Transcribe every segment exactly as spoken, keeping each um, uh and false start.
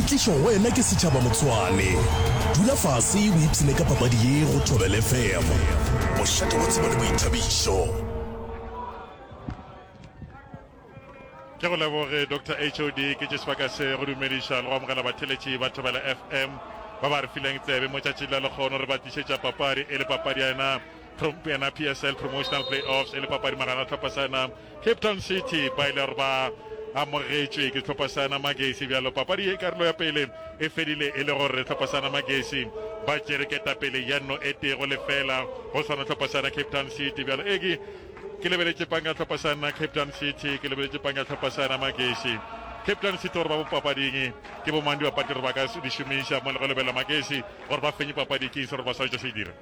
tlišwa go wena ke setšhaba Motshwane. Dula fase o ipshine ka papadi ye go Thobela F M. Mošate wa tsebo le boithabišo. Ke go leboge Doctor H O D, ke tše sebaka se go dumediša le go amogela batheletši ba Thobela F M ba ba re fileng tsebe mo tšatšing la lekgono. Re ba tlišetša papadi e le papadi ya yena yena P S L Promotional Playoffs, e le papadi magareng a hlopha sa yena Cape Town City ba ile gore ba amogetšwe ke hlopha sa yena Magesi. Bjalo papadi ye karolo ya pele e fedile e le gore hlopha sa yena Magesi ba tšere ketapele ya nno e tee go lefela go swana hlopha sa yena Cape Town City. Bjalo eke ke lebeletše panga hlopha sa yena Cape Town City, ke lebeletše panga hlopha sa yena Magesi. Cape Town City gore ba bo papading ke bo mang dibapadi gore ba ka di šomiša mo le go lebelela Magesi gore ba fenye papadi, ke eng se gore ba swanetše se dira?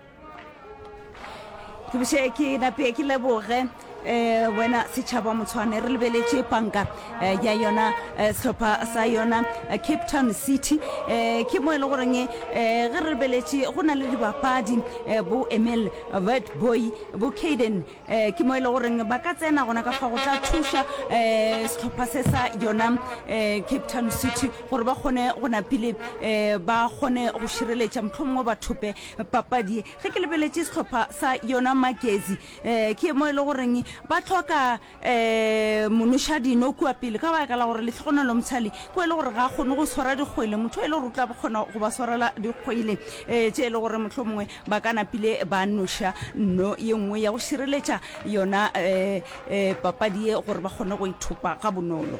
Ke boše ke nape ke leboge eh wena setšhaba Motshwane. Re lebeletše panka eh, ya yona eh, sehlopha sa yona eh, Cape Town City. Eh, ke mo e le goreng eh, ge re lebeletše go na le dibapadi eh, bo Emil Witbooi, bo Caden, eh, ke mo e le goreng ba ka tsena gona ka fa go tla thuša eh, sehlopha se sa yona eh, Cape Town City gore ba kgone go napile eh, ba kgone go šireletša mohlomongwe ba thope papadi. Ge ke lebeletše sehlopha sa yona Magezi eh, ke mo e le goreng ba hloka eh, monošadino kua pele ka baka la gore Lehlogonolo Mtshali ke e le gore ga a kgone go swara dikgwele, motho e le gore o tla kgona go ba swarela dikgwele eh, tše e le gore mohlomongwe ba ka napile ba noša nno ye nngwe ya go šireletša yona eh, eh, papadi ye gore ba kgone go ithopa ga bonolo.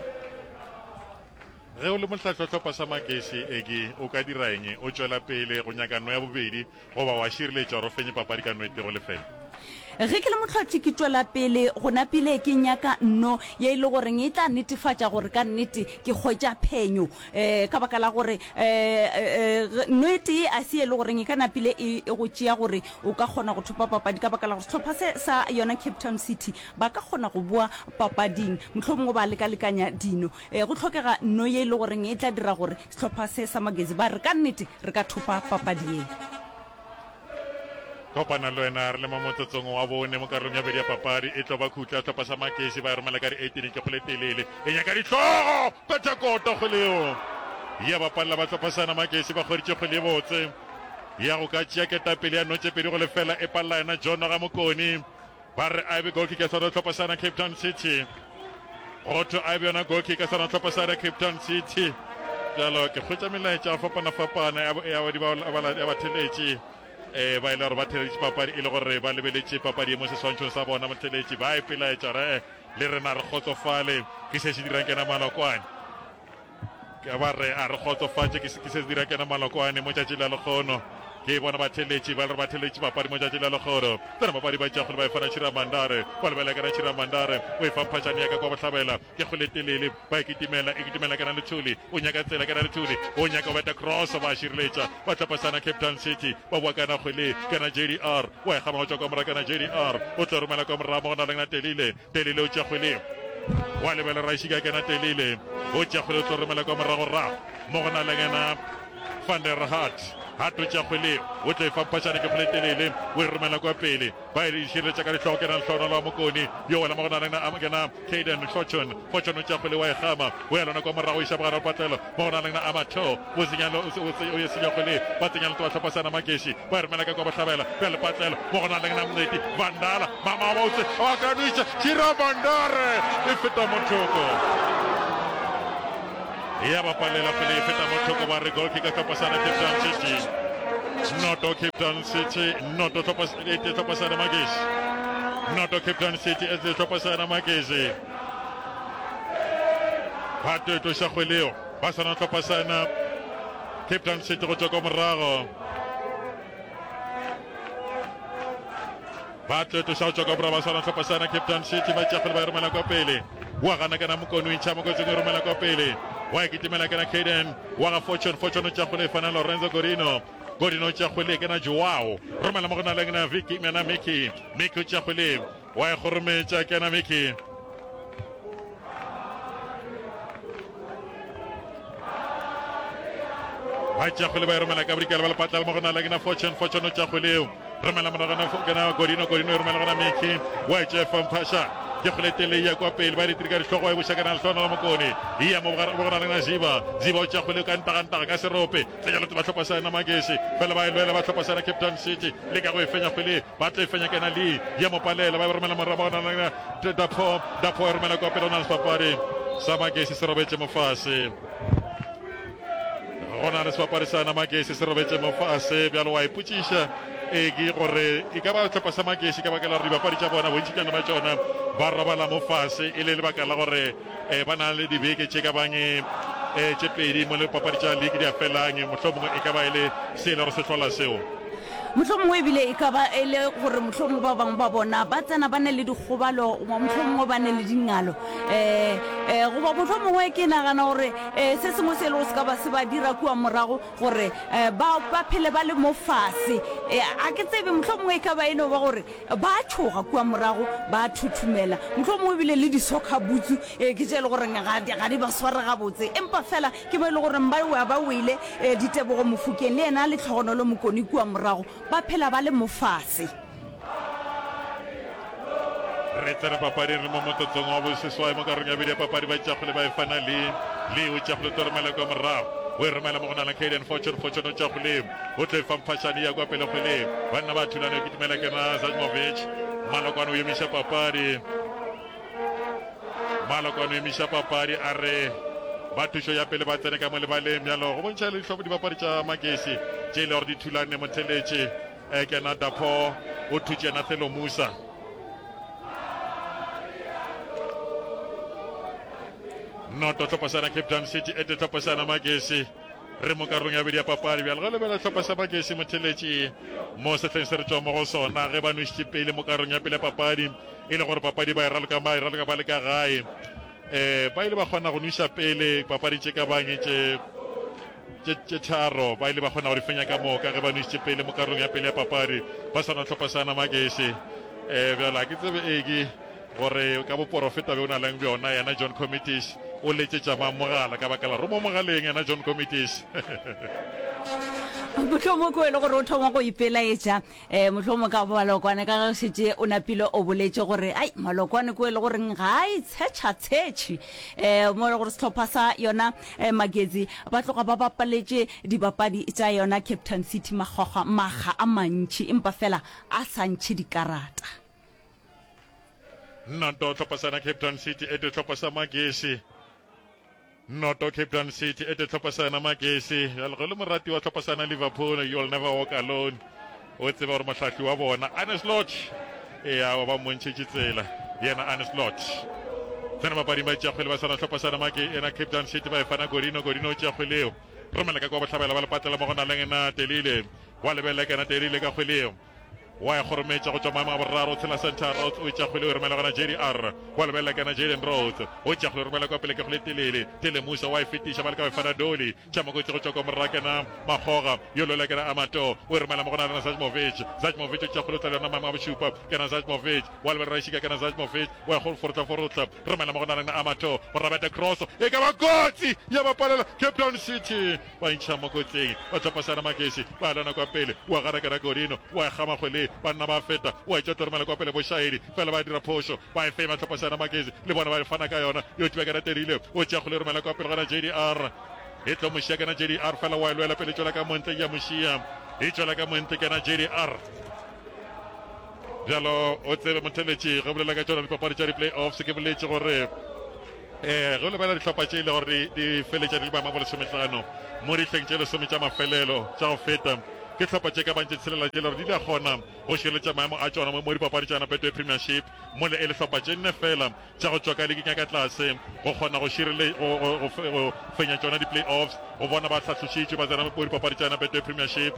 Ge o le mohlahli wa hlopha sa Magesi, Eke, o ka dira eng? O tšwela pele go nyaka nno ya bobedi goba wa šireletša gore o fenye papadi ka nno e tee go lefela? Ge ke le mohlahli ke tšwela pele go napile ke nyaka nno ye e le goreng e tla netefatša gore ka nnete ke hwetša phenyo, um ka baka la gore um nno e tee a se e le goreng e ka napile e go tšea gore o ka kgona go thopa papadi, ka baka la gore sehlopha se sa yona Cape Town City ba ka kgona go boa papading mohlomongwe ba lekalekanya dino. E, go hlokega nno ye e le goreng e tla dira gore sehlopha se sa Magezi ba re ka nnete re ka thopa papadi ye. Kopana le wena re le mo motsotsong wa bone mo karolong ya bobedi ya papadi. E tlo ba khutla sehlopha sa Magezi ba e romela ka di eighteen ke kgole telele e nyaka dihlogo betha kota kgwele yeo ya bapalela ba hlopha sana Magezi ba kgweditše kgwele ye botse ya go ka tšea ketapele ya no tše pedi go lefela e palela yena John ga Mokoni. Ba re a be goal kick ya swana hlopha sana Cape Town City. Go thwe a be yona goal kick ya swana hlopha sana Cape Town City. Bjalo ke hwetša melaetša go fapana-fapana ya ya ya batheletši eh ba ile gore ba theletše papadi e le gore ba lebeletše papadi e mo seswantšhong sa bona. Motheletši ba ipelaetša gore eh le rena re kgotsofale ke se se dirang kena Malokwane. Ke ba re a re kgotsofatše ke se se dira kena Malokwane mo tšatši la lekgono. Ke bona batheletši ba le re batheletši papadi mo tšatši la lekgono. Tsena papadi ba tšea kgole ba e fana Chira Mandare. Ba lebela kena Chira Mandare o e fa Mphašane ya ka kwa bohlabela. Ke kgole telele ba e kitimela e kitimela kena Lethuli. O nyaka tsela kena Lethuli o nyaka go beta cross ba šireletša ba tlapasana Cape Town City ba boa kana kgwele kena J D R wa e gama go tšwa kwa morago kana J D R o tlo romela kwa morago mo go na leng na Telile. Telile o tšea kgwele wa lebela Raishika kena Telile o tšea kgwele o tlo romela kwa morago rago mo go na leng ena Van der Hart. Hart o tšea kgwele o tlo e fa Mphašane ke kgwele telele o e romela kwa pele ba e šireletša ka dihlogo kena Lehlohonolo wa Mokoni yo wela mo go na leng na kena Caden Fortune. Fortune o tšea kgwele wa e gama o ya lona kwa morago o iša bogare wa patlelo mo go na leng na Amato o senya o e senya kgwele ba tsenya leto ba hlopha sana Makeshi ba e romela ka kwa bohlabela bja lepatlelo mo go na leng na Mncedi Vandala mama wa botse wa ka nwitša Chira Mandare e feta mo thoko ya bapalela pele e feta mo thoko ba re goal kick ka hlopha sana Cape Town City noto Cape Town City noto hlopha e tee hlopha sana Makeshi noto Cape Town City e tee hlopha sana Makeshi ba tlo e tloša kgwele eo ba swana hlopha sana Cape Town City go tšwa kwa morago ba tlo e tloša go tšwa kwa morago ba swana hlopha sana Cape Town City ba tšea kgwele ba e romela kwa pele wa gana kana Mokoni o intšha mokotsing o romela kwa pele wa e kitimela kana Caden wa ga Fortune Fortune o tšea kgwele e fana Lorenzo Godino Godino o tšea kgwele kana Joao romela mo go na le na Vicky mena Mickey Mickey o tšea kgwele wa e kgorometša kena Mickey ba tšea kgwele ba e romela ka bodikela ba lepatla mo go na le kena Fortune Fortune o tšea kgwele eo romela moragana kena Godino Godino e romela gona Mickey wa e tšea fa Mphasha Ke kgwele tele ya kwa pele ba ditiri ka dihlogo e buša kana lehlona la Mokone. Ya mo bogara le Ziba. Ziba o tša kgwele ka ntagantaga ka serope. Tsenya lotse ba hlopha sa yena Magesi. Fela ba e lwela ba hlopha sa yena Cape Town City. Le ka go e fenya kgwele ba tlo e fenya kena Lee. Ya mo palela ba e romela morago ba gona Dapo. Dapo e romela kwa pele go na le sebapadi sa Magesi se robetše mo fase. Go na le sebapadi sa yena Magesi se robetše mo fase. Bjalo wa ipotšiša e ke gore e ka ba sehlopha sa Magesi ka baka la gore dibapadi tša bona bontšitšana ba tšona ba robala mo fase e le lebaka la gore eh, ba na le dibeke tše ka bang eh, tše pedi mo le papadi tša league di a felang, mohlomongwe e ka ba e le se e le gore se hlola seo. Mohlomongwe ebile e ka ba e le gore mohlomongwe ba bangwe ba bona ba tsena ba ne le dikgobalo goba mohlomongwe ba ne le dingalo um um goba mohlomongwe ke nagana gore um se sengwe se e lego se ka ba se ba dira kua morago gore um ba ba phele ba le mo fase. A ke tsebe, mohlomongwe e ka ba e no ba gore ba a tšhoga kua morago, ba a thuthumela, mohlomongwe ebile le di-soccer boots ke tše e le goreng ga di, ga di ba sware gabotse. Empa fela ke mo e le goreng ba wa ba wele, Ditebogo Mofokeng le yena Lehlogonolo Mokone kua morago, ba phela ba le mo fase. Re tsena papading re mo motsotsong wa boseswai mo karolong ya bobedi ya papadi. Ba tšakgole ba e fana le Lee, o tšakgole tlo romela kwa morago, o e romela mo go nala Caden Fortune. Fortune o tšakgole o tlo e fa Mphashane ya kwa pele kgwele. Banna ba thulana o kitimela kena Zajmovic. Malokwane o emiša papadi, Malokwane o emiša papadi a re ba thušo ya pele ba tsene ka mo lebaleng. Bjalo go bontšha le dihlopha dibapadi tša Magesi tše e le gore di thulane motheletše. Kena Dapo o thutše yena Thelo Musa. Noto hlopha sa Cape Town City ete hlopha sa Magesi. Re mo karolong ya bobedi ya papadi bjale. Ge lebela hlopha sa Magesi motheletši mo sehleng se re tšwa mo go sona, ge ba nwešitše pele mo karolong ya pele ya papadi, e le gore papadi ba e raloka ba e raloka ba le ka gae, eh ba ile ba kgona go nweša pele papadi tše ka bang tše tše tše tharo, ba ile ba kgona go di fenya ka moka ge ba nwešitše pele mo karolong ya pele ya papadi ba swana hlopha sa Magesi. Eh bjale a ke tsebe eke gore ka boporofeta bjo o na leng bjona yena John Comitis o letšetša mang mogala ka baka la romo mogaleng yena John Comitis. Mohlomongwe ke o e le gore o thoma go ipelaetša um mohlomongwe ka malokwane ka ge šetše o napile o boletše gore ai malokwane ke o e le goreng ga a itshetšha-tshetšhe um mo e le gore sehlopha sa yona um Magezi ba tloga ba bapaletše dibapadi tša yona Cape Town City makgwakgwa makga a mantši empa fela a sa ntšhe dikarata. Noto hlopha sa Cape Town City ete hlopha sa Magesi. Noto Cape Town City ete hlopha sa Magesi. Bjale ge le morati wa hlopha sa Liverpool, you'll never walk alone. O tseba gore mohlahli wa bona Arne Slot ea wa ba mmontšhetše tsela yena Arne Slot. Tsena bapading ba tšea kgwele ba swana hlopha sa Make ena Cape Town City ba e fana Godino. Godino o tšea kgwele eo romela ka kwa bohlabela ba lepatlela mo go na leng na Telile. Wa lebelela kena Telile ka kgwele eo wa e kgorometša go tšwa maemo a boraro, tshela center Rhodes o tšea kgwele o e romela gona J D R wa lebelela kena Jaden Rhodes o tšea kgwele o romela kwa pele ke kgwele telele Tele Musa wa e fetiša ba leka go e fana Dolly Tšhamokotsi go tšwa kwa morra kena Makgoga yo lwela kena Amato o e romela mo go na lena Zajmovic Zajmovic o tšea kgwele o tla le yona maemo a bošupa kena Zajmovic wa lebelela Rašika kena Zajmovic wa e forotla forotla romela mo go na lena Amato go rabeta cross e ka ba kotsi ya bapalela Cape Town City Ba intšha mo kotsing, ba hlopha Sana Magesi, ba lwana kwa pele, wa gana Kena Godino, wa e kgama kgwele, banna ba feta, wa e tšwa tloromela kwa pele Bošaedi, fela ba dira phošo, ba e fema hlopha Sana Magesi, le bona ba fana ka yona, yo tšwa Kena Terile, o tšea kgwele romela kwa pele gona J D R, e tlo mo šia Kena J D R, fela wa e lwela pele tšwela ka montle, ya mo šia, e tšwela ka montle Kena J D R. Bjalo o tsebe motheletši ge o bolela ka tšona dipapadi tša di-playoffs, ke boletše gore Ee, ge o lebelela dihlopha tše e le gore di feletša di le maemo a bolesomehlano mo dihleng tše lesome tša mafelelo tša go feta, ke hlopha tše ka bang tše tshelela tše e le gore di ile kgona go šireletša maemo a tšona mo dipapadi tša Betway Premiership, mola e le hlopha tše nne fela tša go tšwa ka liking ya ka tlase go kgona go širele go, go, go, go fenya tšona di-playoffs go bona ba hlahlošitšwe ba tsena mo dipapadi tša Betway Premiership.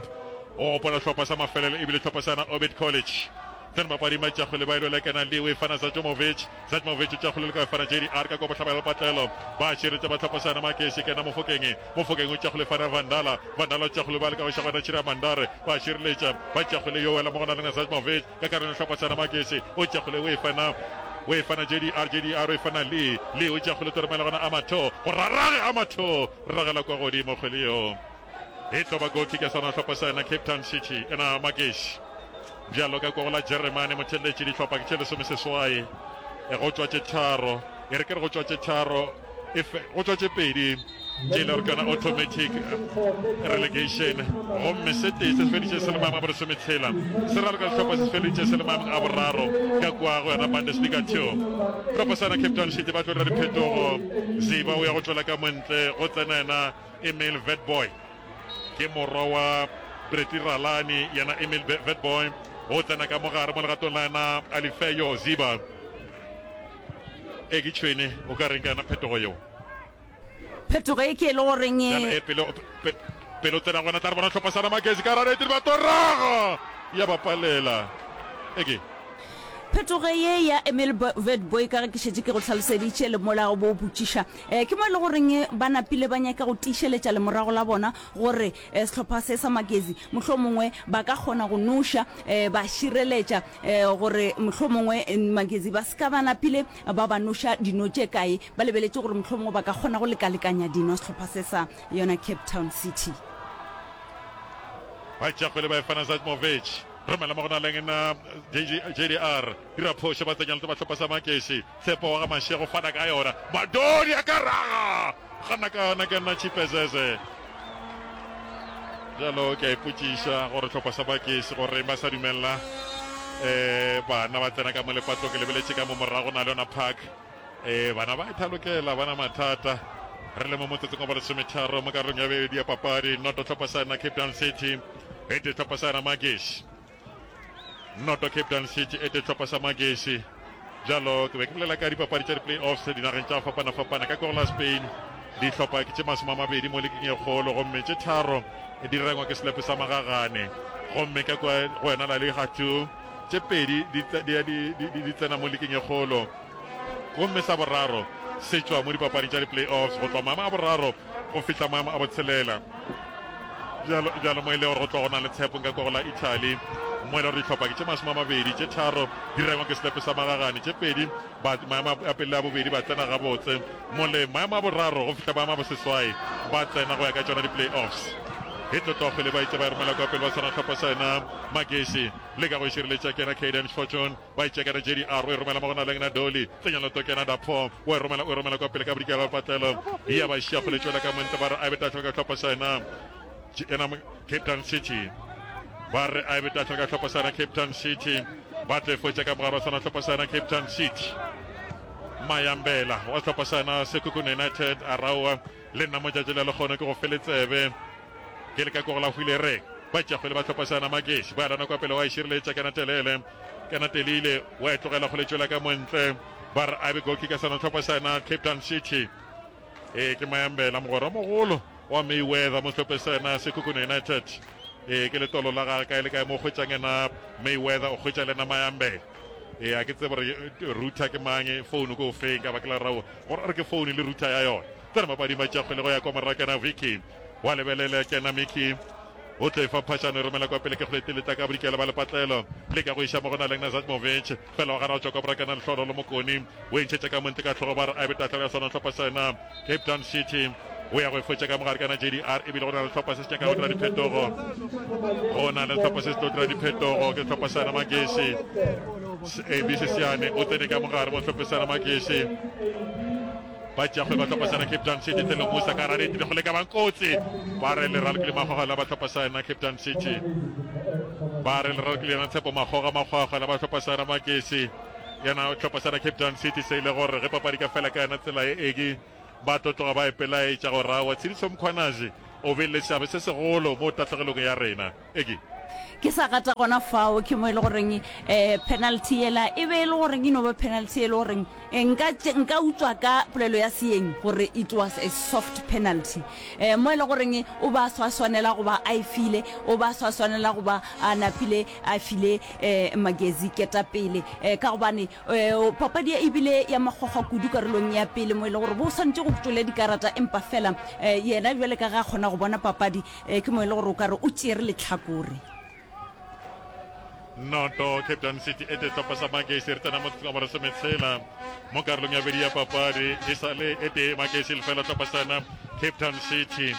Go gopola hlopha sa mafelelo e bile hlopha sa Orbit College. Tsena papading ba tšakgole ba ilwela kena le o fana Zatjomovic. Zatjomovic o tšakgole le ka fana J D R ka kwa bohlabela patlelo. Ba širetša ba hlopha sana Makesi kena Mofokeng. Mofokeng o tšakgole fana Vandala. Vandala o tšakgole ba le ka go šagwana Chira Mandare. Ba šireletša ba tšakgole yo wela mo gona lena Zatjomovic ka karolo hlopha sana Makesi. O tšakgole o e fana o e fana J D R. J D R o e fana Lee. Lee o tšakgole toromela gona Amato. Go rarage Amato ragela kwa godimo kgwele yo. E tlo ba goal kick ya sona hlopha sa yona Cape Town City ena Magesi. Bjalo ka kwa go la Jeremane motheletši dihlopha ke tše lesomeseswai Go tšwa tše tharo, e re ke re go tšwa tše tharo, e fe, go tšwa tše pedi tše e le gore ke yona automatic relegation, gomme se tee se se feditše se le maemong a bolesometshela, se raloka sehlopha se se feditše se le maemong a boraro ka kua go yona Bundesliga two. Sehlopha sa yona Cape Town City ba tlo dira diphetogo, Ziba o ya go tšwela ka montle, go tsena yena Emil Vetboy, ke morwa wa Breti Ralani, yena Emil Vetboy o tsena ka mogare mo legatong la yena Alifeyo Ziba. E ke tšhwene, o ka reng ka yona phetogo yeo? Phetogo e ke e le goreng e. Bjale e pele, pe, pele o tsena gona, tla re bona hlopha sa Namakezi ka rareti ba toraga ya ba palela. E ke. Phetogo ye ya Emil Witbooi, ka ge ke šetše ke go hlaloseditše le mola o bo o botšiša, ke mo e le goreng ba napile ba nyaka go tiišeletša lemorago la bona gore sehlopha se sa Magezi mohlomongwe ba ka kgona go noša, ba šireletša gore mohlomongwe Magezi ba se ka ba napile ba ba noša dino tše kae. Ba lebeletše gore mohlomongwe ba ka kgona go lekalekanya dino sehlopha se sa yona Cape Town City. Ba tšea kgwele ba e fana Zajmovic. Romela mo go na leng na J D R. Dira phošo ba tsenya le ba hlopha sa Makesi. Tshepo wa ga Mashego fana ka yona. Madodi a ka raga. Gana ka yona ke nna Chipezeze. Bjalo ke a ipotšiša gore hlopha sa Makesi gore ba sa dumella eh bana ba tsena ka mo lepatlong. Ke lebeletše ka mo morago na le yona park. Eh bana ba ithalokela bana mathata. Re le mo motsotsong wa bolesometharo mo karolong ya bobedi ya papadi. Noto hlopha sa yona Cape Town City. E tee hlopha sa yona Magesi. Noto Cape Town City e tee hlopha sa Magesi. Bjalo ke be ke bolela ka dipapadi tša di-playoffs dinageng tša go fapana-fapana. Ka kwa go la Spain dihlopha ke tše masome a mabedi mo liking e kgolo, gomme tše tharo di rengwa ke selepe sa magagane. Gomme ka kwa go yona La Liga two tše pedi di, di, di, di, di tsena mo liking e kgolo, gomme sa boraro se tšwa mo dipapading tša di-playoffs go tloga maemo a boraro go fihla maemo a botshelela. Bjalo, bjalo mo e le gore go tloga go na le tshepo nka kwa go la Italy, mo e le gore dihlopha ke tše masome a mabedi, tše tharo di rengwa ke selepe sa magagane, tše pedi ba maemo a pele le a bobedi ba tsena gabotse, mo le maemo a boraro go fihla maemo a boseswai ba tsena go ya ka tšona di-playoffs. E tlo tloga kgwele ba itše ba e romela kwa pele ba tshwana hlopha sa yena Magesi leka go e šireletša ke yena Caden Fortune. Ba e tšea ka J D R, o e romela mo go na leng na Dolly. Tsenya loto kena Dapho, o e romela, o e romela kwa pele ka bodikela ba patlelo. Ya ba šia kgole tšwela ka montle, ba re a e be tahlelo ka hlopha sa yena, yena Cape Town City. Ba re a e be tahlelo ka hlopha sa yena Cape Town City. Ba tlo e fotša ka mogare wa sona hlopha sa yena Cape Town City. Mayambela wa hlopha sa yena Sekhukhune United a raowa le nna motšatši le lekgono ke go fele tsebe. Ke le ka ko go la hwile re ba tšea kgwele ba hlopha sa yena Magesi. Ba lana kwa pele wa e šireletša kena telele. Kena telile wa e tlogela kgwele tšwela ka montle. Ba re a be goal kicker sona hlopha sa yena Cape Town City. E ke Mayambela mogwera mogolo wa Mayweather mo sehlopheng sa yena Sekhukhune United. E ke letolo la gagwe kae le kae mo hwetšang yena Mayweather o hwetša le yena Mayambela. E a ke tsebe gore router ke mang, phone ke o feng ka baka la rao gore a re ke phone le router ya yona. Tsena mapading ba tšea kgwele go ya kwa morago kena Vicky. Wa lebelela kena Mickey. O tlo e fa phašano e romela kwa pele ke kgwele teleta ka bodikela ba lepatlelo. Leka go iša mo go na leng Nazatmovic. Fela wa gana go tšwa kwa morakana Lehlolo le Mokoni. O e ntšhetša ka montle ka hlogo ba re a be tahlelo ya sona hlopha sa yena Cape Town City. O ya go e fotša ka mogare kana J D R ebile go na le hlopha se se nyaka go dira diphetogo. Go na le hlopha se se tlo dira diphetogo ke hlopha sa yena Magesi. A B Sesiane o tsene ka mogare mo hlophe sa yena Magesi. Ba tšea kgwele ba hlopha sa yena Cape Town City. Thelo Musa ka rareti le kgole ka bang kotsi. Ba re le ralokile Makgoga la ba hlopha sa yena Cape Town City. Ba re le ralokile yena Tshepo Makgoga Makgwakgwa la ba hlopha sa yena Magesi. Yena hlopha sa yena Cape Town City se ile gore ge papadi ka fela ka yena tsela e eki ba tlo tloga ba ipelaetša gore aowa Tshidiso Mkhwanazi o bile le seabe se segolo mo tahlegelong ya rena. Eki. Ke sa gata gona fao, ke mo e le goreng um penalty yela e be e le goreng e no ba penalty e le goreng nka nka utswa ka polelo ya seeng gore it was a soft penalty. Um mo e le goreng o ba swa swanela go ba a e file, o ba swa swanela go ba a napile a file um Magezi ketapele um ka gobane um papadi e bile ya makgwakgwa kudu karolong ya pele mo e le gore bo swanetše go tšwele dikarata empa fela um yena bjale ka ge a kgona go bona papadi um ke mo e le gore o ka re o tšere lehlakore. Noto Cape Town City e tee hlopha sa Magesi re tsena motsotsong wa bolesometshela mo karolong ya bobedi ya papadi e sa le e tee Magesi lefela hlopha sa yona Cape Town City.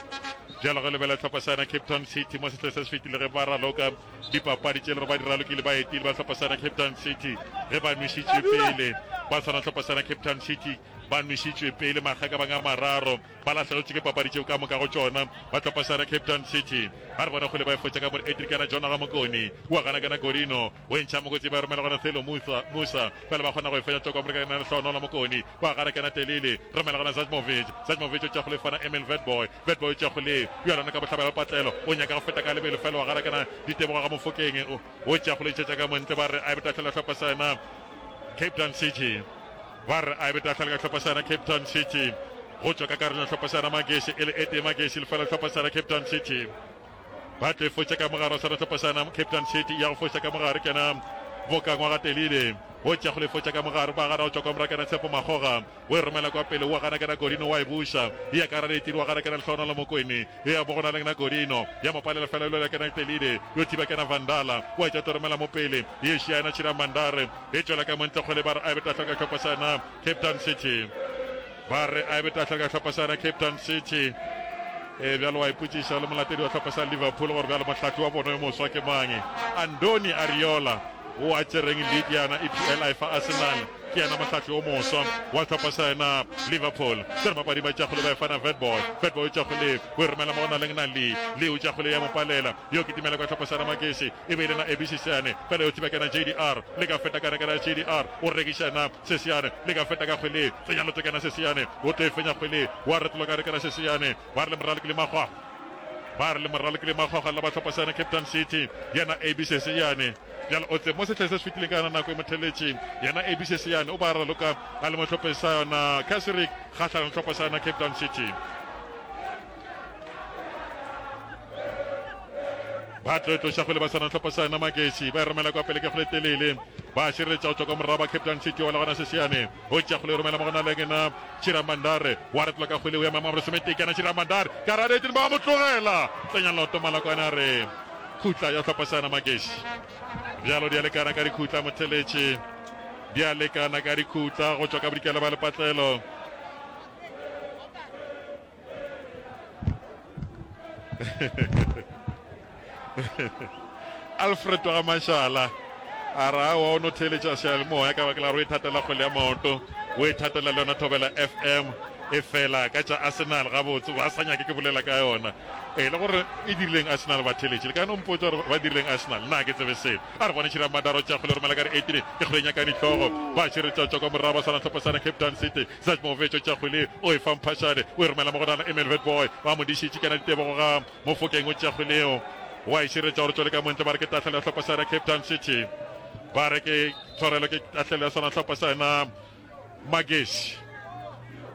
Bjalo ge lebela hlopha sa yona Cape Town City mo sehleng se se fetile ge ba raloka dipapadi tše le gore ba di ralokile ba etile ba hlopha sa yona Cape Town City ge ba nwešitše pele Ba swana hlopha sana Cape Town City ba nwešitšwe pele makga ka bang a mararo, ba lahlegetšwe ke papadi tšeo ka moka go tšona. Ba hlopha sana Cape Town City ba re bona kgole ba e fotša ka more Adriana Jona ga Mokoni wa gana kana Godino o e ntšha mokotsi ba e romela gona Thelo Musa Musa fela ba kgona go e fenya tšwa kwa more ka Lehlohonola Mokoni wa gana kana Telele romela gona Zajmovic Zajmovic o tšwa go lefana Emil Vetboy Vetboy o tšwa go le yo lona ka bohlabela patlelo o nyaka go feta ka lebelo fela wa gana kana ditebogo ga Mofokeng o tšwa go le tšetša ka montle ba re a e betahlela hlopha sa yena Cape Town City ba re a e betahlela ka hlopha sa yena Cape Town City go tšwa ka karolong hlopha sa yena Magesi e le e tee Magesi lefela hlopha sa yena Cape Town City ba tlo e fotša ka mogare wa sona hlopha sa yena Cape Town City ya go foša ka mogare ke yena Bokangwa ga Telile o tšea go le fotša ka mogare ba gana go tšwa kwa morago ke yena Tshepo Makgoga o e romela kwa pele wa gana ke yena Godino wa e buša e ya ka gare ditiri wa gana ke yena Lehlohonolo Mokwene e ya mo go na le yena Godino ya mo palela fela lwela ke yena Telile yo thiba ke yena Vandala wa tšea tlo romela mo pele ye šia yena Chira Mandare e tšwela ka montle kgole ba re a e be tahlelo ka hlopha sa yena Cape Town City ba re a e be tahlelo ka hlopha sa yena Cape Town City e bjalo wa ipotšiša le molatedi wa hlopha sa Liverpool gore bjalo mohlahli wa bona yo moswa ke mang Andoni Ariola o a tšereng league yana E P L a e fa Arsenal ke yena mohlahli o moswa wa hlopha sa yena Liverpool tsere mapadi ba tšagole ba e fana Vetboy Vetboy o tšagole o e romela mo go na leng na Lee Lee o tšagole ya mo palela yo kitimela kwa hlopha sa yena Magesi e be e le na A B Sesiane fela yo thiba kena J D R le ka feta kana kana J D R o rekiša yena Sesiane le ka feta ka kgwele tsenya loto kena Sesiane o tlo e fenya kgwele wa retoloka re kena Sesiane ba re le moralo ke le makgwa ba re le moralo ke le makgwa la ba hlopha sa yena Cape Town City yena A B Sesiane bjalo o tse mo sehleng se se fetileng ka yona nako e motheletši yena A B Sesiane o ba raloka a le mo hlopheng sa yona Casric kgahlanong hlopha sa yona Cape Town City ba tlo tloša kgwele ba swana hlopha sa yona Magesi ba e romela kwa pele ke kgwele telele ba šireletša go tšwa kwa morago ba Cape Town City wa le gona Sesiane o tšea kgwele e romela mo gona le yena Chira Mandare wa retlola ka kgwele o ya mama bolesometee ke yena Chira Mandare ka radetše ba mo tlogela tsenya loto Malakwane a re khutla ya hlopha sa yona Magesi bjalo di a lekana ka dikhutla motheletše di a lekana ka dikhutla go tšwa ka bodikela ba lepatlelo Alfred wa ga Mashala a re aowa o no theeletša seyalemoya ka baka la gore o ithatela kgwele ya maoto, o ithatela le yona Thobela F M e fela ka tša Arsenal gabotse ba sa nyake ke bolela ka yona. E le gore e dirileng Arsenal batheeletši le ka no mpotša gore ba dirileng Arsenal nna ga ke tsebe selo. A re bone Tšhira Madaro tša kgwele romela ka re eighteen ke kgwele e nyaka dihlogo ba šireletša tšwa kwa morago ba swana hlopha sana Cape Town City Zajmovic o tšea kgwele o e fa Mphashane o e romela mo go nana Emil Vetboy ba mo dišitše ke yena ditebogo ga Mofokeng o tšea kgwele yeo wa e šireletša gore tšwele ka montle ba re ke tahlelo ya hlopha sa yena Cape Town City ba re ke tshwarelo ke tahlelo ya sona hlopha sa yena Magesi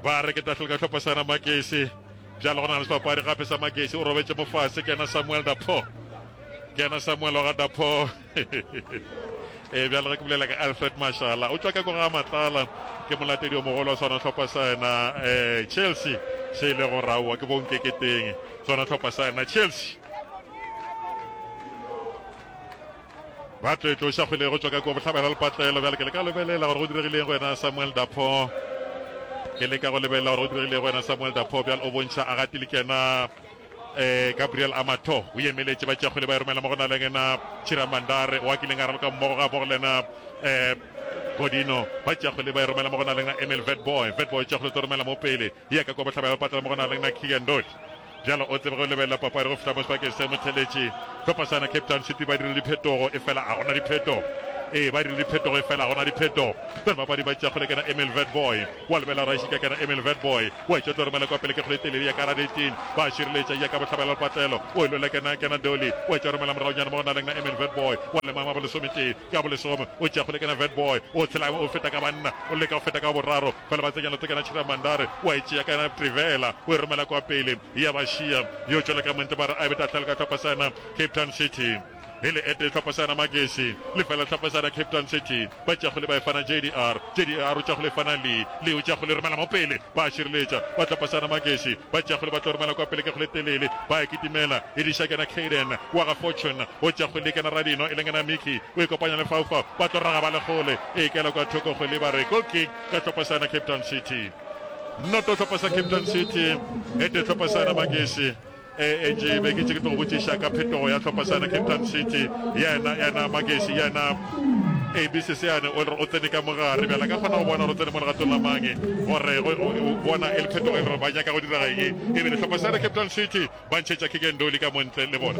ba re ke tahlelo ka hlopha sa yena Magesi bjalo go na le sebapadi gape sa Magesi o robetše mo fase ke yena Samuel Dapo ke yena Samuel wa ga Dapo e bjalo ge ke bolela ka Alfred Mashala o tšwa ka ko ga Matlala ke molatedi o mogolo wa sona hlopha sa yena um Chelsea se e le go raowa ke bonkeketeng sona hlopha sa yena Chelsea ba tlo e tloša kgwele go tšwa ka kua bohlabela lepatlelo bjale ke leka lebelela gore go diregileng go yena Samuel Dapo ke leka go lebelela gore go diregileng go yena Samuel Dapo bjale o bontšha a gatile ke yena eh Gabriel Amato o emeletše ba tšea kgwele ba e romela mo go na le yena Chira Mandare wa kileng a raloka mmogo ga mmogo le yena eh Godino ba tšea kgwele ba e romela mo go na le yena Emil Vetboy Vetboy tšea kgwele tlo romela mo pele ya ka kwa bohlabela ba patela mo go na le yena Keegan Dodi bjalo o tsebe go lebelela papadi go fihla mo sebakeng se motheletši hlopha sa yena Cape Town City ba dirile diphetogo e fela a gona diphetogo ee ba dirile diphetogo e fela a gona diphetogo bjale bapadi ba tšea kgwele kena Emil Vetboy wa lebelela Raishika kena Emil Vetboy wa etšwa tlo romela kwa pele ke kgwele telele ya ka eighteen ba šireletša ya ka bohlabela lepatlelo o e lwela kena kena Dolly wa etšwa romela moraonyana mo go na leng na Emil Vetboy wa lemama bolesometee ka bolesome o tšea kgwele kena Vetboy o tshela o feta ka banna o leka go feta ka boraro fela ba tsenya leoto kena Chira Mandare wa e tšea kena Trivela o e romela kwa pele ya ba šia yo tšwela ka montle ba re a be tahlelo ka hlopha sa yena Cape Town City e le ete hlopha sa yena Magesi lefela hlopha sa yena Cape Town City ba tšea kgwele ba e fana J D R J D R o tšea kgwele e fana Lee Lee o tšea kgwele e romela mo pele ba šireletša ba hlopha sa yena Magesi ba tšea kgwele ba tlo romela kwa pele ke kgwele telele ba e kitimela e diša kena Caden wa ga Fortune o tšea kgwele kena Radino e leng yena Mickey o e kopanya le Faufau ba tlo raga ba le kgole e ikela kwa thoko kgwele ba re goal kick ka hlopha sa yena Cape Town City noto hlopha sa Cape Town City e te hlopha sa yena Magesi e e be ke tše ke tlo go botšiša ka phetogo ya hlopha sa yena Cape Town City yena yena Magesi yena A B Sesiane o re o tsene ka mogare bjala ka kgona go bona gore o tsene mo legatong la mange gore bona e le phetogo e le gore ba nyaka go direga eng e bile hlopha sa Cape Town City ba ntšhetša Kikendoli ka montle le bona.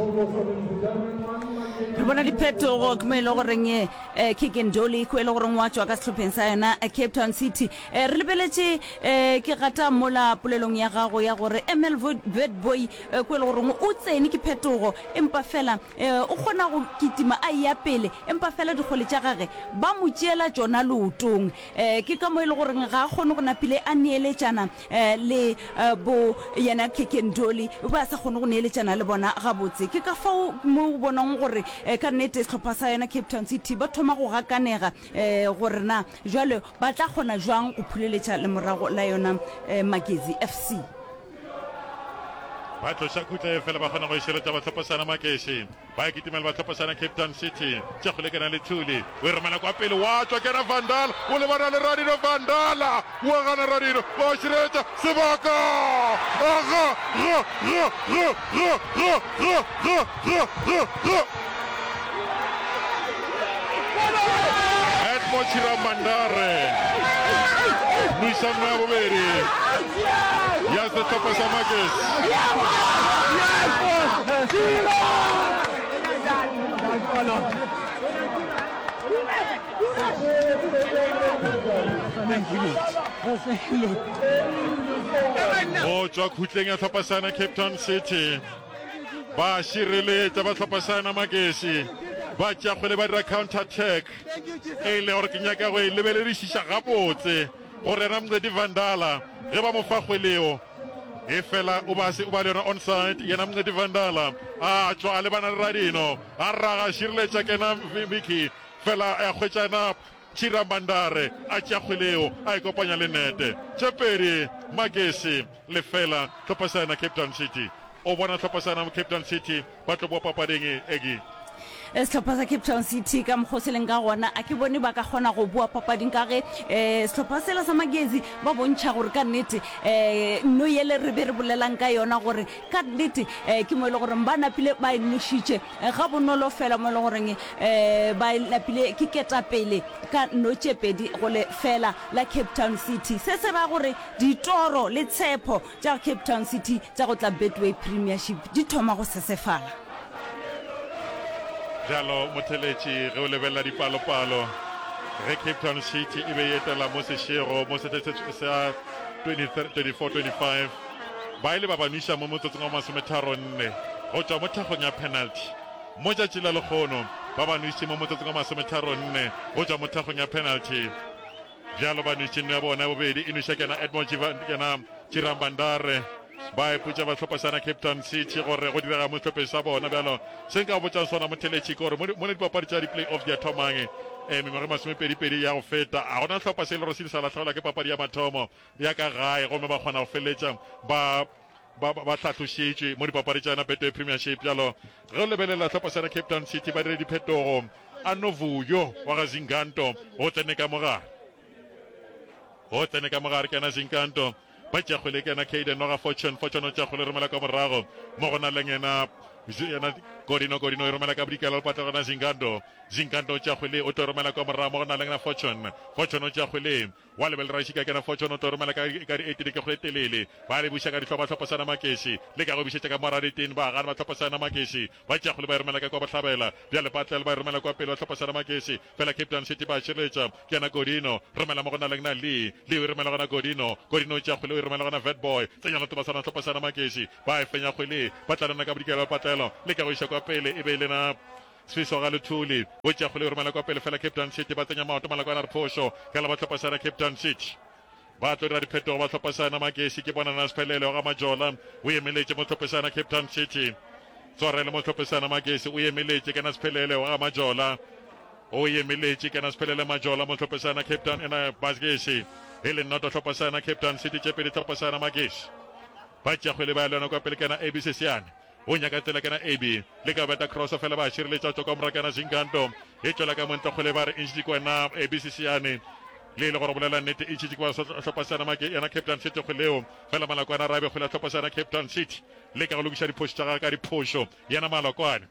Re bona diphetogo ke mo e le goreng eh, Kikendoli ko e le goreng wa tšwa ka sehlopheng sa yona eh, Cape Town City. Eh, re lebeletše eh, ke gata mola polelong ya gago ya gore M L Witbooi eh, ko e le goreng o tsene ke phetogo empa fela eh, o kgona go kitima a eya pele empa fela dikgole tša gage ba mo tšeela tšona leotong. Eh, ke ka mo e le goreng ga a kgone go napile a neeletšana eh, le eh, bo yena Kikendoli ba sa kgone go neeletšana le bona gabotse. Ke ka fao mo o bonang gore eh, ka nnete sehlopha sa yona Cape Town City ba thoma go gakanega eh, gore na jwale ba tla kgona jwang go phuleletša lemorago la yona eh, Magezi F C. Ba tloša khutla e fela ba kgona go e šireletša ba hlopha sana Magezi. Ba e kitimela ba hlopha sana Cape Town City. Tša go lekana le Thuli. O e romela kwa pele wa tšwa kena Vandal. O lebana le Radino Vandala. Wa gana Radino. Ba šireletša sebaka. Aga ga ga ga ga ga ga ga ga ga ga. Edmo Chiramandare. Nwisano ya bobedi ya sehlopha sa Magesi. Go tšwa khutleng ya hlopha sana Cape Town City ba šireletša ba hlopha sana Magesi ba tšea kgwele ba dira counter attack e le gore ke nyaka go e lebeledišiša gabotse gore yena Mncedi Vandala ge ba mo fa kgweleo e fela o ba se o ba le yona onside yena Mncedi Vandala a tšwa a lebana le Radino a raga šireletša kena Vicky fela a hwetšana Chiramandare a tšea kgweleo a e kopanya le nete tše pedi Magesi lefela hlopha sa yena Cape Town City o bona hlopha sa yena Cape Town City ba tlo boa papading egi. Sehlopha sa Cape Town City ka mokgwa o se leng ka gona a ke bone ba ka kgona go boa papading ka ge um sehlopha sela sa Magezi ba bontšha gore ka nnete um nno yele re be re bolelang ka yona gore ka nnete um ke mo e le goreng ba napile ba e nošitše ga bonolo fela mo e le goreng um ba e napile ke ketapele ka nno tše pedi go le fela la Cape Town City. Se se ra gore ditoro le tshepo tša Cape Town City tša go tla Betway Premiership di thoma go sesefala. Bjalo motheletši ge o lebelela dipalopalo ge Cape Town City e be e etela mo sešego mo sehleng sa twenty twenty-four twenty-five ba ile ba ba nweša mo motsotsong wa masometharo nne go tšwa mo thekgong ya penalty. Mo tšatši la lekgono ba ba nwešitše mo motsotsong wa masometharo nne go tšwa mo thekgong ya penalty. Bjalo ba nwešitše nno ya bona ya bobedi e nweša kena Edmond kena Chirambandare ba ipotša ba hlopha sana Cape Town City gore go direga mo sehlopheng sa bona. Bjalo se nka botšang sona motheletši ke gore mo le dipapadi tša di-play-off di a thomang eh, mengwaga e masomepedi-pedi ya go feta a gona hlopha se e le gore se ile sa lahlegelwa ke papadi ya mathomo ya ka gae gomme ba kgona go feleletša ba ba ba hlahlošitšwe mo dipapadi tša yona Betway Premiership. Bjalo ge o lebelela hlopha sa Cape Town City ba dire diphetogo a Novuyo wa ga Zinganto o tsene ka mogare o tsene ka mogare ke yena Zinganto ba tšea kgwele ke yena Caden wa ga Fortune Fortune o tšea kgwele romela ka morago mo go na leng yena yena Godino Godino e romela ka bodikela lepatla gona Zinganto Zinganto o tšea kgwele o tlo romela ka morago mo go na leng yena Fortune Fortune o tšea kgwele wa lebelela Rašika kena Fortune o tlo romela ka ka di eight ke kgwele telele ba le buša ka dihloba hlopha sana Makesi le ka go bišetša ka mora diteng ba gana ba hlopha sana Makesi ba tšea kgwele ba e romela ka kwa bohlabela bjale Patlel ba e romela kwa pele ba hlopha sana Makesi fela Cape Town City ba šireletša ke yena Godino romela mo go na leng na Lee Lee o e romela gona Godino Godino o tšea kgwele o e romela gona Vetboy tsenya loto ba sana hlopha sana Makesi ba e fenya kgwele ba tla lena ka bodikela ba Patlelo le ka go iša kwa pele e be e lena Sfiso ga Luthuli o tšea kgwele o romela kwa pele fela Cape Town City ba tsenya maoto malakwana re phošo ka la ba hlopha sana Cape Town City ba tlo dira diphetogo ba hlopha sana Magesi ke bona na Sphelele ga Majola o emeletše mo hlophe sana Cape Town City tswarele mo hlophe sana Magesi o emeletše ke na Sphelele ga Majola o emeletše ke na Sphelele Majola mo hlophe sana Cape Town ena Magesi e le noto hlopha sana Cape Town City tše pedi hlopha sana Magesi ba tšea kgwele ba ya lona kwa pele ke na A B Sesiane o nyaka tsela kena A B le ka beta cross fela ba šireletša tšwa kwa morago kena Zinganto e tšwela ka montle kgwele ba re e ntšhitše ke wena A B Sesiane le e le gore bolela nnete e ntšhitše ke ba hlopha sa Make yena Cape Town City kgweleo fela Malakwane a rabe kgwele ya hlopha sa Cape Town City le ka go lokiša diphošo tša gagwe ka diphošo yena Malakwane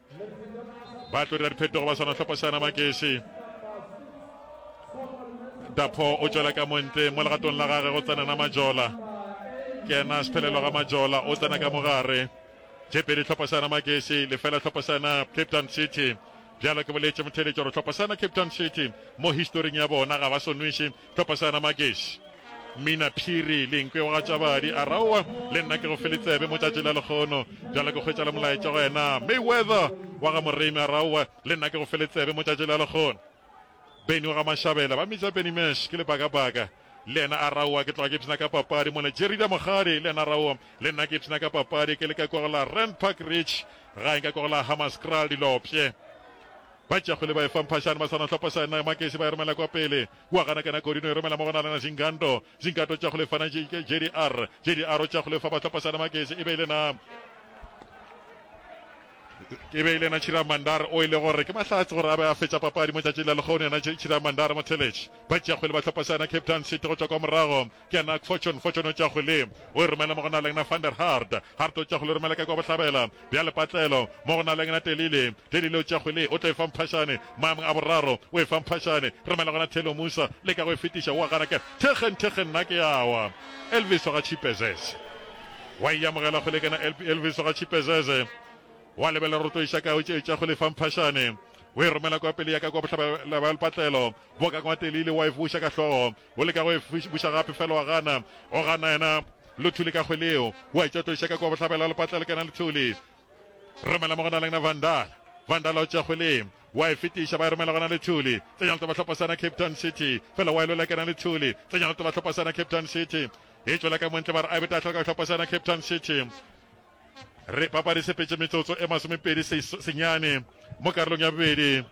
ba tlo dira diphetogo ba swana hlopha sa Makesi Dapo o tšwela ka montle mo legatong la gage go tsena na Majola. Ke yena Sephelelo ga Majola o tsena ka mogare. Tše pedi hlopha sa yena Magesi, lefela hlopha sa yena Cape Town City. Bjalo ke boletše motheeletši gore hlopha sa yena Cape Town City mo historing ya bona ga ba so nweše hlopha sa yena Magesi. Mina Phiri Lenkwe wa ga Tšabadi a raowa le nna ke go fele tsebe mo tšatši la lekgono. Bjalo ke hwetša le molaetša go yena Mayweather wa ga Moremi a raowa le nna ke go fele tsebe mo tšatši la lekgono. Benny wa ga Mashabela ba mmitša Benny Mesh ke lebakabaka le yena a raowa ke tloga ke ipshina ka papadi mola Jerida Mogadi le yena a raowa le nna ke ipshina ka papadi ke le ka kwa go la Rand Park Ridge gae nka kwa go la Hammanskraal Dilopye ba tšea kgwele ba e fa Mphashane ba swana hlopha sa yena Makesi ba e romela kwa pele wa gana kana Kodino e romela mo go na lena Zinganto Zinganto tšea kgwele fana J D R J D R o tšea kgwele fa ba hlopha sa yena Makesi e be e le na E be e le yena Chira Mandar o e le gore ke mahlatse gore a be a fetša papadi mo tšatšing la lehono. Yena Chira Mandar motheletši ba tšea kgwele ba hlopha sa yena Cape Town City go tšwa kwa morago ke yena Fortune. Fortune o tšea kgwele o e romela mo go na le yena Van der Hart. Hart o tšea kgwele o romela ka kwa bohlabela bja lepatlelo mo go na le yena Telile. Telile o tšea kgwele o tlo e fa Mphashane maemong a boraro o e fa Mphashane romela gona Thelo Musa leka go e fetiša o a gana ke Thekgen Thekgen nna ke a wa Elvis wa ga Chipezeze wa e amogela kgwele ke yena Elvis wa ga Chipezeze. Wa lebelela roto iša kae, o tše tša go lefa mphašane. O e romela kwa pele ya ka kwa bohlabela bja lepatlelo. Boka kwa telile, wa e buša ka hlogo. O leka go e buša gape, fela wa gana. O gana yena Luthuli ka kgwele yeo. Wa e tša tlo iša ka kwa bohlabela bja lepatlelo, ke yena Luthuli. Romela mo go na le yena Vandala. Vandala o tšea kgwele. Wa e fetiša, ba e romela gona Luthuli. Tsenya leto ba hlopha sa yena Cape Town City. Fela wa e lwela ke yena Luthuli. Tsenya leto ba hlopha sa yena Cape Town City. E tšwela ka montle ba re a e be tahlelo ka hlopha sa yena Cape Town City. Re papadi sepetše metsotso e masomepedi senyane mo karolong ya bobedi.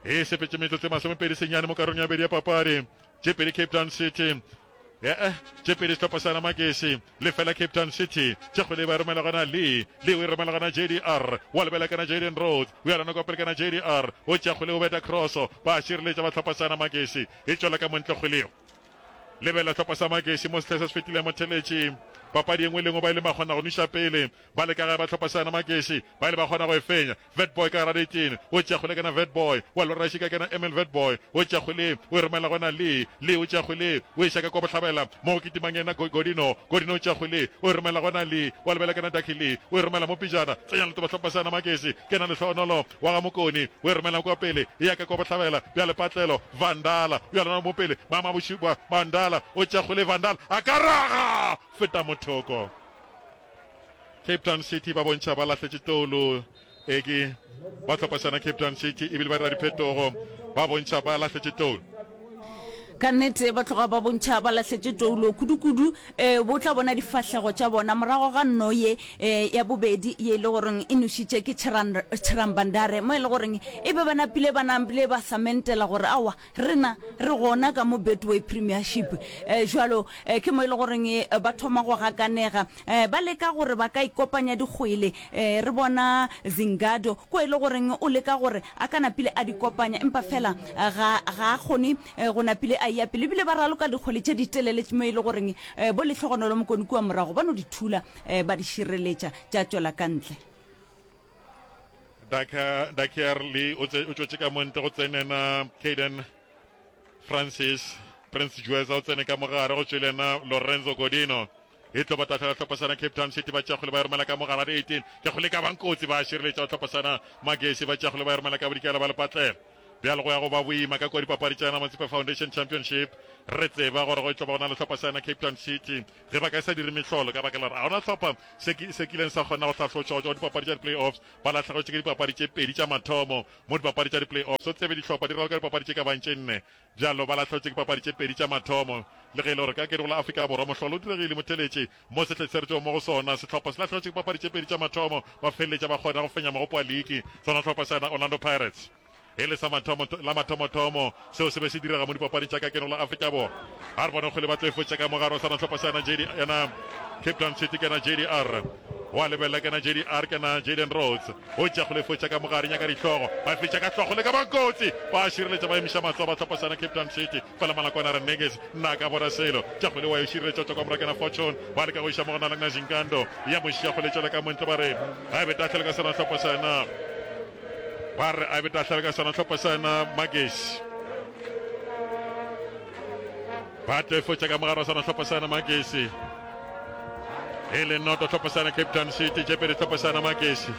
E sepetše metsotso e masomepedi senyane mo karolong ya bobedi ya papadi. Tše pedi Cape Town City. Ee, tše pedi sehlopha sa Namakesi. Lefela Cape Town City. Tše kgwele ba e romela gona Lee. Lee o e romela gona J D R. Wa lebela kana Jaden Rhodes. O ya lona kwa pele kana J D R. O tšea kgwele o beta crosso. Ba šireletša ba hlopha sa Namakesi. E tšwela ka montle kgwele yeo. Lebela hlopha sa Magesi mo sehleng se se fetileng motheletši. Papadi e nngwe le nngwe ba ile ba kgona go nweša pele. Ba le ka gae ba hlopha sa yona Magesi ba ile ba kgona go e fenya. Vetboy ka gara ditene o tšea kgwele kena Vetboy wa lora šika kena Emil Vetboy o tšea kgwele o e romela go yena Lee. Lee o tšea kgwele o e šaka kwa bohlabela mo go kitimang yena Godino. Godino o tšea kgwele o e romela go yena Lee wa lebela kena Ducky Lee o e romela mo pejana. Tsenya leto ba hlopha sa yona Magesi kena Lehlohonolo wa ga Mokoni o e romela kwa pele e ya ka kwa bohlabela bja lepatlelo. Vandala o ya lona mo pele mama bošupa Vandala o tšea kgwele Vandala a ka raga feta mothoko. Cape Town City ba bontšha ba lahletše toulo e ke ba hlopha sona Cape Town City ebile ba dira diphetogo ba bontšha ba lahletše toulo. Ka nnete ba tloga ba bontšha ba lahletše toulo kudu-kudu. E, bo tla bona difahlego tša bona morago ga nno ye e, ya bobedi ye e le goreng e nošitše ke Chirambandare, mo e le goreng e be ba napile ba napile ba samentela gore aowa rena re gona ka mo Betway Premiership. E, jwalo e, ke mo e le goreng e, ba thoma go gakanega, e, ba leka gore ba ka ikopanya dikgwele. E, re bona Zingado ko e le goreng o leka gore a ka napile a di kopanya, empa fela ga, ga a kgone go napile a eya pele. Ebile ba raloka dikgwele tše ditelele mo e le goreng bo Lehlogonolo Mokoni kua morago ba no di thula ba di šireletša tša tšwela ka ntle. Dakier Lee o tšwetše ka mo ntle go tsenena Caden Francis. Prince Jueza o tsene ka mogare go tšwele yena Lorenzo Godino. E tlo ba tahlela hlopha sana Cape Town City ba tšea kgwele ba e romela ka mogare ga di eighteen. Ke kgwele e ka bang kotsi ba šireletša go hlopha sana Magesi ba tšea kgwele ba e romela ka bodikela ba lepatlela. Bjale go ya go ba boima ka kua dipapadi tša yona Motsepe Foundation Championship. Re tseba gore go tlo ba go na le hlopha sa yona Cape Town City ge ba ka sa dire mehlolo ka baka la gore ga gona hlopha se se kileng sa kgona go hlahlotšwa go tšwa go dipapadi tša di-playoffs. Ba lahlegetšwe ke dipapadi tše pedi tša mathomo mo dipapadi tša di-playoffs. O tsebe dihlopha di raloka dipapadi tše ka bang tše nne. Bjalo ba lahlegetšwe ke papadi tše pedi tša mathomo. Le ge e le gore ka kere go la Afrika Borwa mohlolo o diregile motheletše mo sehleng se re tšwago mo go sona, sehlopha se lahlegetšwe ke papadi tše pedi tša mathomo ba feleletša ba kgona go fenya mogopo wa liki sona hlopha sa yona Orlando Pirates. E le sa mathomo, la mathomothomo seo se be se direga mo dipapading tša ka keno la Afrika Borwa. A re bone kgwele ba tlo e fotša ka mogare wa sona hlopha sa yona J D, yona Cape Town City kena J D R. Wa lebelela kena J D R kena Jaden Rhodes. O tšea kgwele e fotša ka mogare nyaka dihlogo. Ba fetša ka hlogo le ka bang kotsi. Ba šireletša ba emiša matsogo ba hlopha sa yona Cape Town City. Fela Malakwana a re Neges nna ka bona selo. Tša kgwele wa e šireletša o tšwa kwa morago kena Fortune. Ba leka go iša mo go na le Nazinkando. Ya mo šia kgwele e tšwela ka montle ba re ga e be tahlelo ka sona hlopha sa yona. Ba re a be tahlelo ka sona hlopha sa yona Magesi. Ba tlo e fotša ka mogare wa sona hlopha sa Magesi. E le noto hlopha sa Cape Town City, tše pedi hlopha sa Magesi.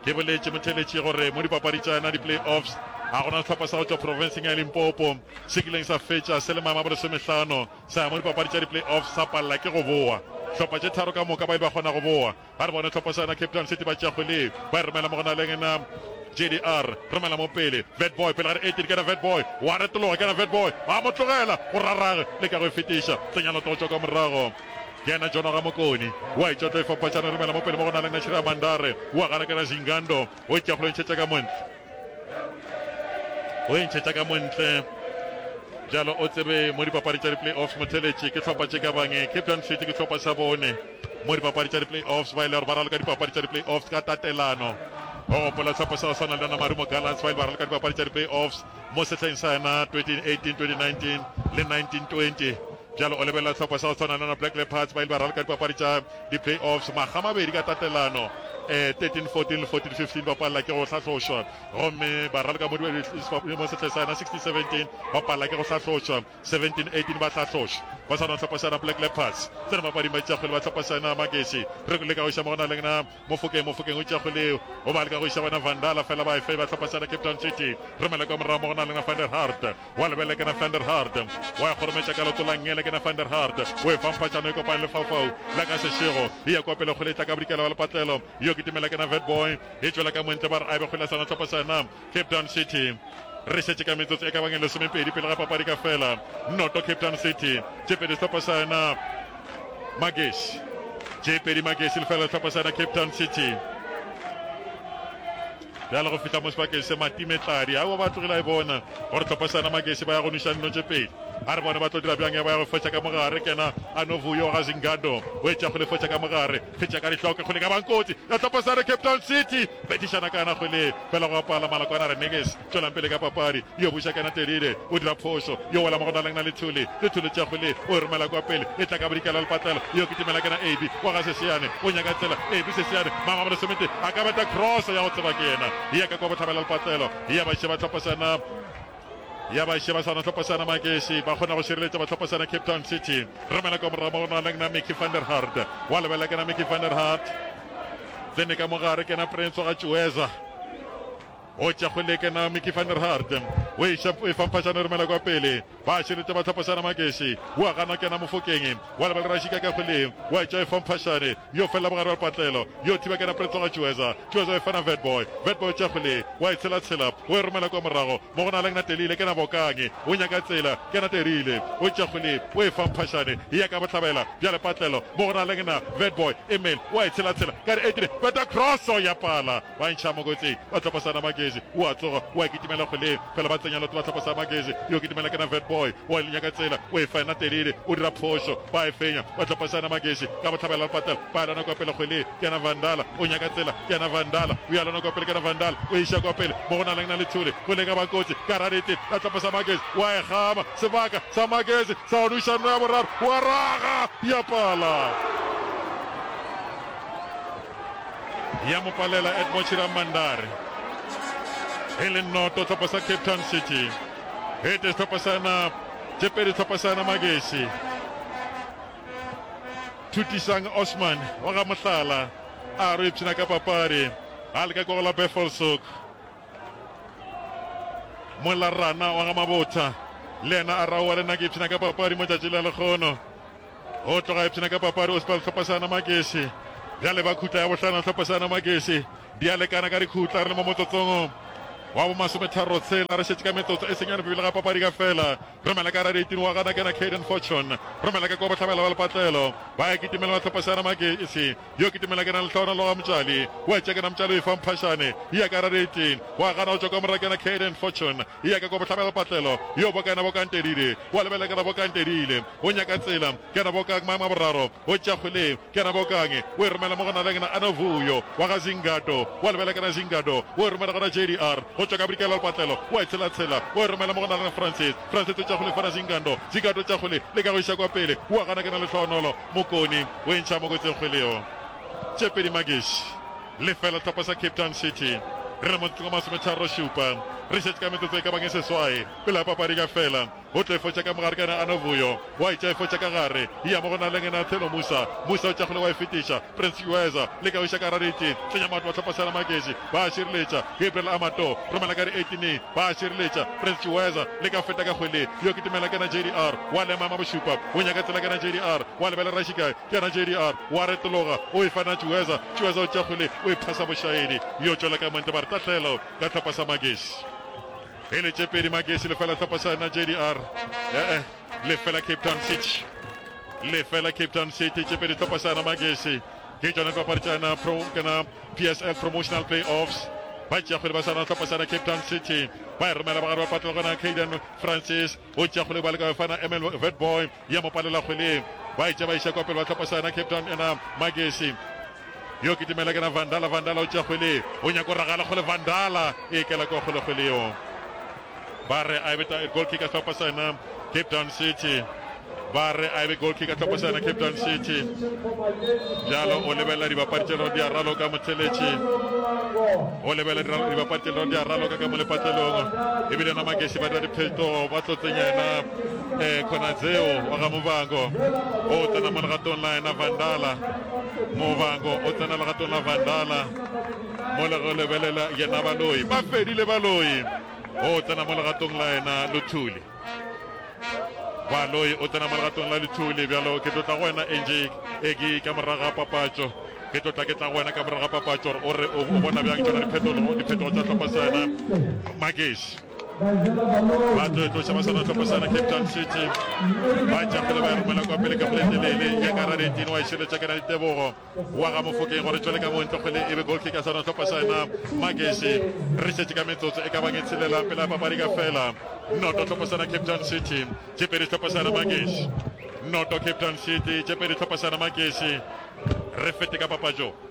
Ke boletše motheletši gore mo dipapadi tša yona di-playoffs ga gona sehlopha sa go tšwa profenseng ya Limpopo se kileng sa fetša se le maemo a bolesomehlano sa ya mo dipapadi tša di-playoffs sa palela ke go boa. Hlopha tše tharo ka moka ba ile ba kgona go boa. Ba re bone hlopha sa yona Cape Town City ba tšea kgwele ba e romela mo go na le yena J D R romela mo pele Vetboy pele ga re eighteen kena Vetboy wa retologa kena Vetboy ba mo tlogela go rarage le ka go e fetiša tsenya loto go tšwa ka morago ke yena Jono ga Mokoni wa e tšwa tlo e fapatšana romela mo pele mo go na le Nashira Mandare wa gana kena Zingando o tšea go ntšhetša ka montle o e ntšhetša ka montle bjalo o tsebe mo dipapadi tša di-playoffs motheletši ke hlopha tše ka bang Cape Town City ke hlopha sa bone mo dipapadi tša di-playoffs ba ile gore ba raloka dipapadi tša di-playoffs ka tatelano o gopola sehlopha sa go swana le yona Marumo Gallants ba ile ba raloka dipapadi tša di-playoffs mo sehleng sa yona twenty eighteen twenty nineteen le nineteen twenty bjalo o lebelela sehlopha sa go swana le yona Black Leopards ba ile ba raloka dipapadi tša di-playoffs makga mabedi ka tatelano um thirteen fourteen le fourteen fifteen ba palela ke go hlahlošwa gomme ba raloka mo mo sehleng sa yona sixteen seventeen ba palela ke go hlahlošwa seventeen eighteen ba hlahloša ba swana hlopha sa Black Leopards tsena papading ba tšea kgwele ba hlopha sa Magesi re leka go iša mo gona le na Mofokeng Mofokeng o tšea kgwele o ba leka go iša bona Vandala fela ba efe ba hlopha sa Cape Town City romela kwa morago mo gona le na Van der Hart wa lebele ke na Van der Hart wa kgorometša ka leoto la ngele ke na Van der Hart o e fa mphatšano e kopane lefaufau la ka sešego e ya kwa pele kgwele e tla ka bodikela wa lepatlelo yo kitimela ke na Vetboy e tšwela ka montle ba re a be kgwele ya sona hlopha sa Cape Town City re šetše ka metsotso e ka bang e lesomepedi pele ga papadi ka fela noto Cape Town City tše pedi sehlopha sa yona Magesi tše pedi Magesi lefela sehlopha sa yona Cape Town City bjale go fihla mo sebakeng se matimetladi aowa ba tlogile a e bona gore hlopha sa yona Magesi ba ya go nweša dino tše pedi a re bone ba tlo dira bjang ya ba ya go fetša ka mogare kena a no vuyo ga Zingando o etša go le fetša ka mogare fetša ka dihloke kgwele ka bankotsi ya hlopha sa Cape Town City betišana kana kgwele fela go apala malakwana re Neges tšwelang pele ka papadi yo buša kana Telile o dira phošo yo wela mo go naleng na Lethuli Lethuli tša kgwele o e romela kwa pele e tla ka bodikela lepatlelo yo kitimela kana A B wa ga Sesiane o nyaka tsela A B Sesiane mama bolesomete a ka beta cross ya go tseba ke yena ya ka kwa bohlabela lepatlelo ya ba šeba hlopha sana ya ba šeba sana hlopha sana Magesi ba kgona go šireletša ba hlopha sana Cape Town City romela kwa morago mo go naleng na Mickey van der Hart wa lebela kena Mickey van der Hart tsene ka mogare kena Prince wa ga Tšueza o tša kgwele kena Mickey van der Hart o iša e famphašana romela kwa pele ba šireletša ba hlopha sana Magesi wa gana kena Mofokeng wa lebela Rashika ka kgweleng wa etša e famphašane yo felela bogare wa lepatlelo yo thiba kena Prince wa ga Tšueza Tšueza e fana Vetboy Vetboy tša kgwele wa e tshelatshela o e romela kwa morago mo go na le Telile kena Bokange o nyaka tsela kena Terile o tša kgwele o e famphašane e ya ka bohlabela bja lepatlelo mo go na le na Vetboy Emil wa e tshelatshela ka re eighteen beta crosso ya pala ba ntšha mo kotsing ba hlopha sana Magezi o a tsoga o a kitimela kgweleng fela ba tsenya loto ba hlopha sa Magezi yo kitimela kena Vetboy wa nyaka tsela o e fena Telile o dira phošo ba e fenya ba hlopha sana Magezi ka bohlabela lepatlelo ba lwana kwa pele kgweleng kena Vandala o nyaka tsela kena Vandala o ya lwana kwa pele kena Vandala o iša kwa pele mo go na leng na Lethule go leka bakotsi ka radete la hlopha sa Magezi wa e gama sebaka sa Magezi sa go nweša nno ya boraro wa raga ya pala ya mo palela Edmond Chiramandare e le noto hlopha sa Cape Town City ete sehlopha sa na tše pedi sehlopha sa na Magesi Thutisang Osman wa ga Mohlala a re ipshina ka papadi a leka kwa go la Buffelshoek mola Rana wa ga Mabotha le yena a raowa le nna ke ipshina ka papadi mo tšatši la lekgono o tloga ipshina ka papadi o sepela sehlopha sa Magesi bjale ba khutla ya bohlano sehlopha sa Magesi di a lekana ka dikhutla re le mo motsotsong wa bo masometharo tshela re šetše ka metsotso e senyane pele ga papadi ka fela romela ka radiating wa gana kena Caden Fortune romela ka kwa bohlabela ba lepatlelo ba ya kitimela ba hlopha sa Magesi yo kitimela kena Lehlohonolo wa Mtšali wa etša kena Mtšali o e fa Mphašane ya ka radiating wa gana go tšwa kwa morago kena Caden Fortune ya ka kwa bohlabela lepatlelo yo bokana bokantedile wa lebela kena bokantedile o nyaka tsela kena bokang maemo a boraro o tša kgweleng kena bokange o e romela mo go na le kena Anovuyo wa ga Zingado wa lebela kena Zingado o e romela gona J D R go tšwa ka bodikela lepatlelo wa e tshelatshela o e romela mo go na le Francis Francis o tša kgwele fana Zingando Zingado tša kgwele le ka go iša kwa pele wa gana kena Lehlohonolo Mokoni o e ntšha mo kotsing kgwele yo tše pedi Magesi lefela hlopha sa Cape Town City re le motsotsong wa masometharo šupa re šetše ka metsotso e ka bang e seswai pele ga papadi ka fela O tlo e fotša ka mogare ka yena Anovuyo. Wa e tšea e fotša ka gare. Ya mo go na le yena Thelo Musa. Musa o tšea kgole wa e fetiša. Prince Chiweza leka go iša ka gare diting. Tsenya maoto ba hlopha sa Magesi. Ba a šireletša. Gabriel Amato romela ka di-eighteen. Ba a šireletša. Prince Chiweza leka go feta ka kgwele. Yo kitimela ke yena J D R. Wa lema ema bošupa. O nyaka tsela ke yena J D R. Wa lebelela Rashikae. Ke yena J D R. Wa retologa. O e fa yena Chiweza. Chiweza o tšea kgwele o e phasa bošaedi. Yo tšwela ka montle ba re tahlelo ka hlopha sa Magesi. E le tše pedi Magesi lefela hlopha sa yena J D R. Eh eh lefela Cape Town City. Lefela Cape Town City tše pedi hlopha sa yena Magesi. Ke tšona dipapadi tša yena pro kana P S L Promotional Playoffs. Ba tšea kgwele ba sa yena hlopha sa yena Cape Town City. Ba e romela ba gare ba patela gona Caden Francis o tšea kgwele ba leka go fana M L Vetboy ya mo palela kgweleng. Ba e tšea ba iša kwa pele ba hlopha sa yena Cape Town yena Magesi. Yo kitimela ke na Vandala, Vandala o tšea kgwele, o nyaka go ragala kgole, Vandala e kela kwa kgole kgwele yeo. Ba re a e be goal kick ya sehlopha sa yena Cape Town City. Ba re a e be goal kick ya sehlopha sa yena Cape Town City. Bjalo o lebelela dibapadi tše di a raloka motheletši. O lebelela dibapadi tše di a raloka ka mo lepatlelong. Ebile na Magesi ba dira diphetogo ba tlo tsenya yena eh Khonadzeo wa ga Muvhango. O tsena mo legatong la yena Vandala. Muvhango o tsena legatong la Vandala mo le go lebelela yena Baloi. Ba fedile Baloi. O tsena mo legatong la yena Luthuli. Baloi o tsena mo legatong la Luthuli. Bjalo ke tlo tla go wena N J e ke ka morago ga papatšo. Ke tlo tla ke tla go wena ka morago ga papatšo gore o re o bona bjang tšona diphetogo diphetogo tša hlopha sa yena Magesi. Ba tlo e tloša ba swana hlopha sa yena Cape Town City. Ba tša kgole ba e romela kwa pele ka kgole telele ya ka Radetini wa e šireletša ke na ditebogo wa ga Mofokeng gore tšwele ka montle kgwele e be goal kick ya swana hlopha sa yena Magesi. Re šetše ka metsotso e ka bang e tshelela pele ya papadi ka fela. Noto hlopha sa yena Cape Town City, tše pedi hlopha sa yena Magesi. Noto Cape Town City, tše pedi hlopha sa yena Magesi. Re fete ka papatšo.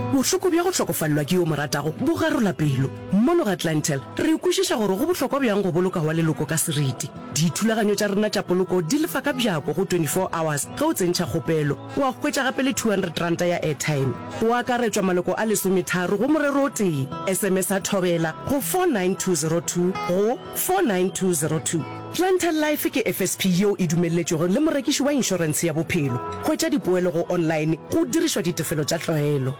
Bohloko bja go hlokofalelwa ke yo o mo ratago bo garola pelo. Mono ga Clientele, re kwešiša gore go bohlokwa bjang go boloka wa leloko ka seriti. Dithulaganyo tša rena tša poloko di lefa ka bjako go twenty four hours ge o tsentšha kgopelo. Wa hwetša gape le two hundred ranta ya airtime. Go akaretšwa maloko a lesometharo go morero o tee. S M S-a Thobela go four nine two zero two go four nine two zero two. Clientele Life ke F S P yeo e dumelletšwego le morekiši wa inšorentshe ya bophelo. Hwetša dipoelo go online go dirišwa ditefelo tša tlwaelo.